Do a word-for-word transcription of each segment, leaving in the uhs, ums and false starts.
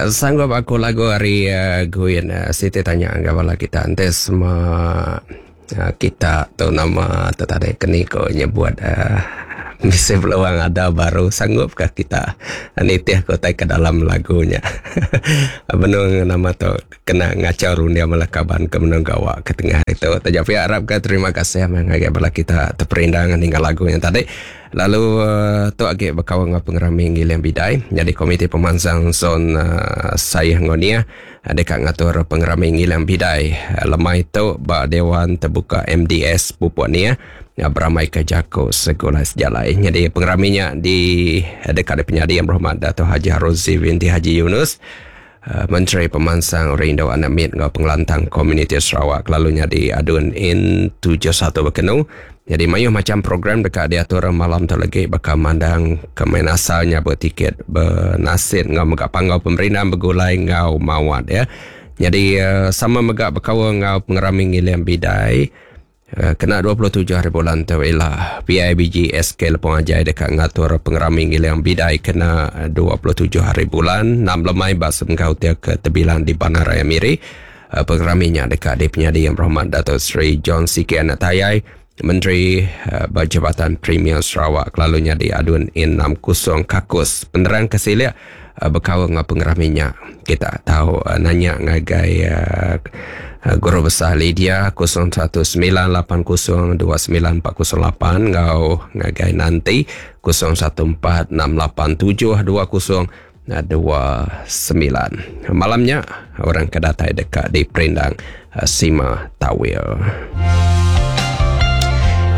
Sanggup Aku lagu ari uh, Guin. uh, Siti tanya enggau bala kita enti semua uh, kita tu nama tu tadi keni ko nyebut uh, bisi peluang ada baru, sanggupkah kita nitih ko tai ke dalam lagunya? Benung nama tu kena ngacau rundia malah kaban ke menung gawa ke tengah hari tu. Taja pihak, harap ke terima kasih ngagai bala kita terperindang ninggal lagu yang tadi. Lalu uh, tu agi berkawan dengan pengerami Ngiling Bidai. Jadi Komiti Pemansang Zon uh, Sayah Ngonia uh, dekat ngatur pengerami Ngiling Bidai uh, lemai tu ba Dewan Terbuka M D S Pupuk Nia ya, beramai ke Jako Sekolah Sejalai. Jadi pengeraminya di dekat di penyadi Yang Berhormat Dato' Haji Haruzi binti Haji Yunus, uh, Menteri Pemansang Rindu Anak Mit ngau Pengelantang Komuniti Sarawak, lalunya di Adun In tujuh puluh satu Bekenu. Jadi mayuh macam program dekat diatur malam tu lagi, bakal mandang kemain asalnya bertiket bernasid ngau megak panggau pemerintah bergulai ngau mawat ya. Jadi uh, sama megak berkawal ngau pengerami Ngiling Bidai. Eh, kena dua puluh tujuh hari bulan tu ialah P I B G S K Lepong Ajai dekat ngatur pengerami Ngiling Bidai kena dua puluh tujuh hari bulan enam lemai bak semengkau tia ke Tebilang di Bandaraya Miri. Uh, pengeraminya dekat di penyadi Yang Berhormat Dato' Sri John Sikie Anak Tayai, Menteri uh, Berjabatan Premier Sarawak, lalunya di Adun In enam puluh Kakus. Penerang kesilia uh, berkawal dengan pengeraminya kita tahu uh, nanya ngagai uh, Guru Besar Lydia kosong satu sembilan lapan kosong dua sembilan empat kosong lapan ngau ngagai nanti kosong satu empat enam lapan tujuh dua kosong dua sembilan. Malamnya orang kedatai dekat di Perindang uh, Sima Tawil.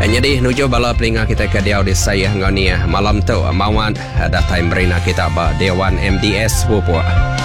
Jadi nuju bala pelinga kita ke diau di saya ngau ni malam tu mawat datai merina kita ba Dewan M D S Pupuk.